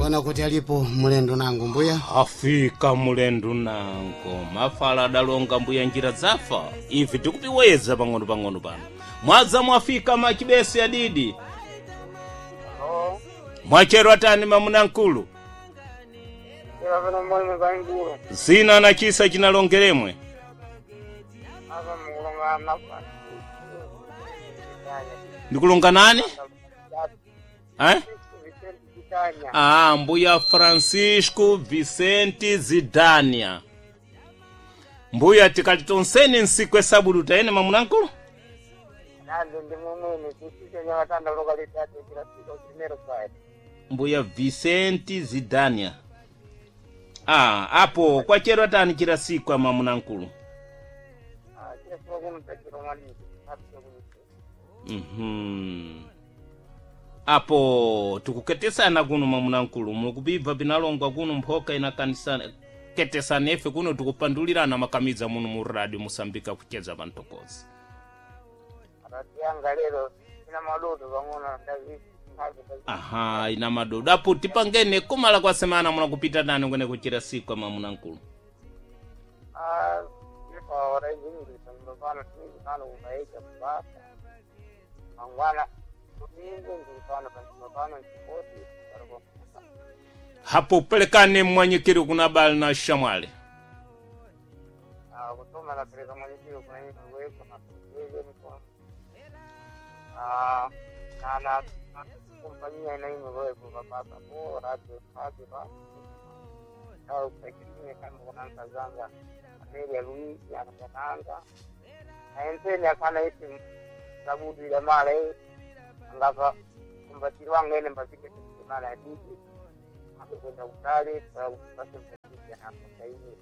Ona kuti alipo mulendo nango mbuya. Afika mulendo nango, mafala adalonga mbuya njira zafa. Ife tikupiweza pang'ono-pang'ono pano. Mwadza mwafika machibesi adidi. Halo, Mwachero atani mamuna mkulu. ila vino mwene vainguru Zina na chisa chinalongeremwe. ava mukulongana Ndikulonga nani? Eh? Vicente Vitanya. Ah, mbuya Francisco Vicente Zidania. Mbuya tikati tonseni nsiku esabudu taene mamuna mkulu. Nandi ndi mumwene chisise nyawatanda lokalitati kila siku primero sai. Mbuya Vicente Zidania. Ah, apo kwachero atani chila siku amamuna mkulu. Ah, kila siku kuno tachiro mwani. Hapo kuno. Apo tikuketesana kuno mamuna mkulu, mukupibva pinalongwa kuno mphoka inakanisana ketesana ife kuno tikupandulirana makamidza muno mu radio Musambika kucheza pantokozi. Arati yanga lero ina madudu pang'ono ndazi. Aha, ina madodo. Apo tipangene kumala kwa semana muna kupita nani kwene kuchira siku amamuna mkulu. Ah, ifa ora izingiri pano tingi pano kukaita kubasa. Mangwana kutingi ndiri pano pano chipoti paroko. Hapo pelekane mwanyikiri kuna bali na shamwali. Ah, kutuma napeleka mwenyekiti kuna nini kuweka na kuweka mkono. Ah, na na kompanyia ina hiyo wewe kwa baba kwa radio radio ba. Au pekee kama kuna kazanga. Amelia Luis anakananga. Na enteni akana isi sabudu ile mara hii ngapa kumbatiri wangu ene mbafike mara ya bibi. Akwenda kutali kwa kupata na hivi.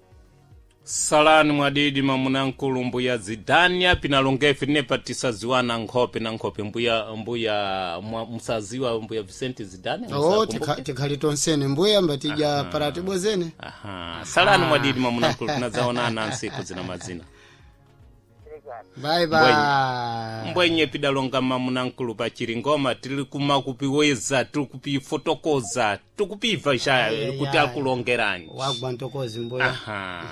Salani mwadidi mamuna nkulu mbuya Zidania pinalongefe nepa tisaziwana nkhope na nkhope mbuya mbuya mwa, msaziwa mbuya Vicente Zidania. Oh, Msakumbuke? tikhali tonsene mbuya mbatija paratibo zene. Aha, salani mwadidi mamuna nkulu tinazaonana nsiku zina mazina. Bye bye. Mbwenye pidalonga mamuna nkulu pachiri ngoma tili kumakupiweza tili kupifotokoza tikupibva xa Ai, kuti ai. akulongerani. Wagwa ntokozi mbuya. Aha.